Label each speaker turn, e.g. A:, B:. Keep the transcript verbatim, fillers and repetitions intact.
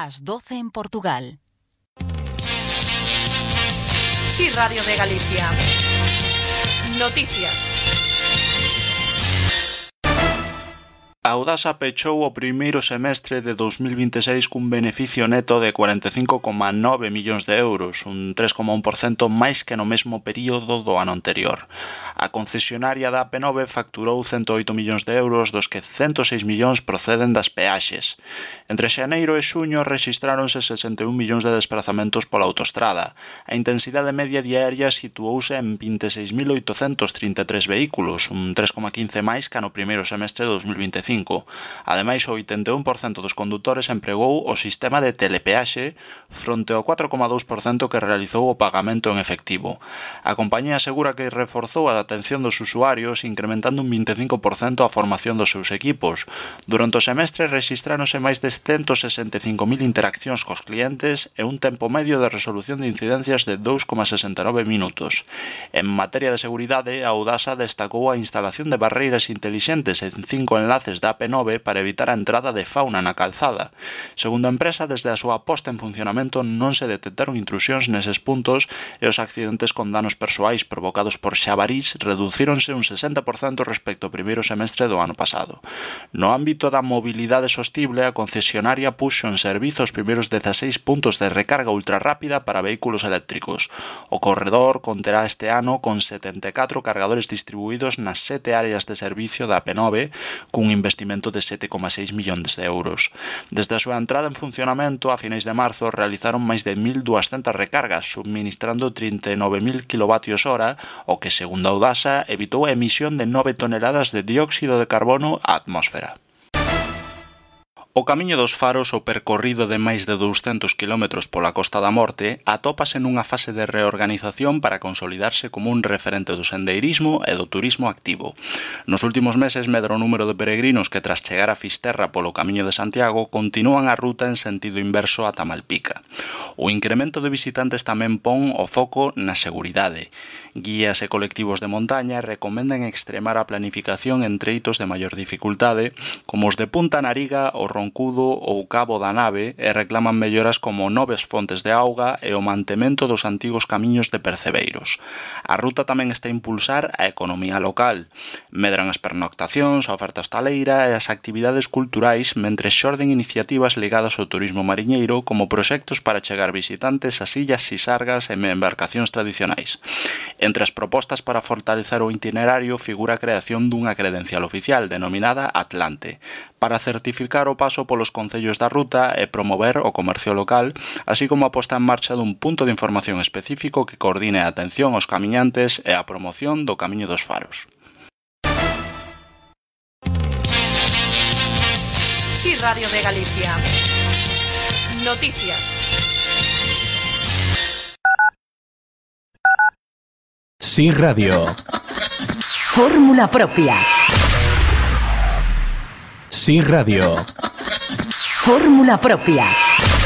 A: Las doce en Portugal.
B: Sí, Radio de Galicia. Noticias.
C: A Audasa pechou o primeiro semestre de dos mil vinte e seis cun beneficio neto de cuarenta e cinco coma nove millóns de euros, un tres coma un por cento máis que no mesmo período do ano anterior. A concesionaria da A P nove facturou cento oito millóns de euros, dos que cento seis millóns proceden das peaxes. Entre xaneiro e xuño rexistráronse sesenta e un millóns de desplazamentos pola autostrada. A intensidade media diaria situouse en vinte e seis mil oitocentos trinta e tres vehículos, un tres coma quince máis que no primeiro semestre de dos mil vinte e cinco. Ademais, o oitenta e un por cento dos condutores empregou o sistema de telepeaxe fronte ao catro coma dous por cento que realizou o pagamento en efectivo. A compañía asegura que reforzou a atención dos usuarios, incrementando un vinte e cinco por cento a formación dos seus equipos. Durante o semestre rexistráronse máis de ciento sesenta e cinco mil interaccións cos clientes e un tempo medio de resolución de incidencias de dous coma sesenta e nove minutos. En materia de seguridade, a Audasa destacou a instalación de barreiras intelixentes en cinco enlaces da A P nove para evitar a entrada de fauna na calzada. Segundo a empresa, desde a súa posta en funcionamento non se detectaron intrusións neses puntos e os accidentes con danos persoais provocados por xabarís reducíronse un sesenta por cento respecto ao primeiro semestre do ano pasado. No ámbito da mobilidade sostible, a concesionaria puxo en servizo os primeiros dezaseis puntos de recarga ultrarrápida para vehículos eléctricos. O corredor conterá este ano con setenta e catro cargadores distribuídos nas sete áreas de servicio da A P nove, cun investimento de sete coma seis millóns de euros. Desde a súa entrada en funcionamento a finais de marzo realizaron máis de mil duascentas recargas, subministrando trinta e nove mil kilovatios hora, o que, segundo a Audasa, evitou a emisión de nove toneladas de dióxido de carbono á atmósfera. O Camiño dos Faros, o percorrido de máis de douscentos kilómetros pola Costa da Morte, atópase nunha fase de reorganización para consolidarse como un referente do sendeirismo e do turismo activo. Nos últimos meses medra o número de peregrinos que, tras chegar a Fisterra polo Camiño de Santiago, continúan a ruta en sentido inverso ata Malpica. O incremento de visitantes tamén pon o foco na seguridade. Guías e colectivos de montaña recomendan extremar a planificación en treitos de maior dificultade, como os de Punta Nariga, o Roncudo ou Cabo da Nave, e reclaman melloras como novas fontes de auga e o mantemento dos antigos camiños de percebeiros. A ruta tamén está a impulsar a economía local. Medran as pernoctacións, a oferta hostaleira e as actividades culturais, mentre xorden iniciativas ligadas ao turismo mariñeiro como proxectos para chegar visitantes ás illas Sisargas e embarcacións tradicionais. Entre as propostas para fortalecer o itinerario figura a creación dunha credencial oficial denominada Atlante, para certificar o paso polos concellos da ruta e promover o comercio local, así como a posta en marcha dun punto de información específico que coordine a atención aos camiñantes e a promoción do Camiño dos Faros.
B: Sí, Radio de Galicia. Noticias.
D: Sí, Radio.
A: Fórmula propia.
D: Sí, Radio.
A: Fórmula propia.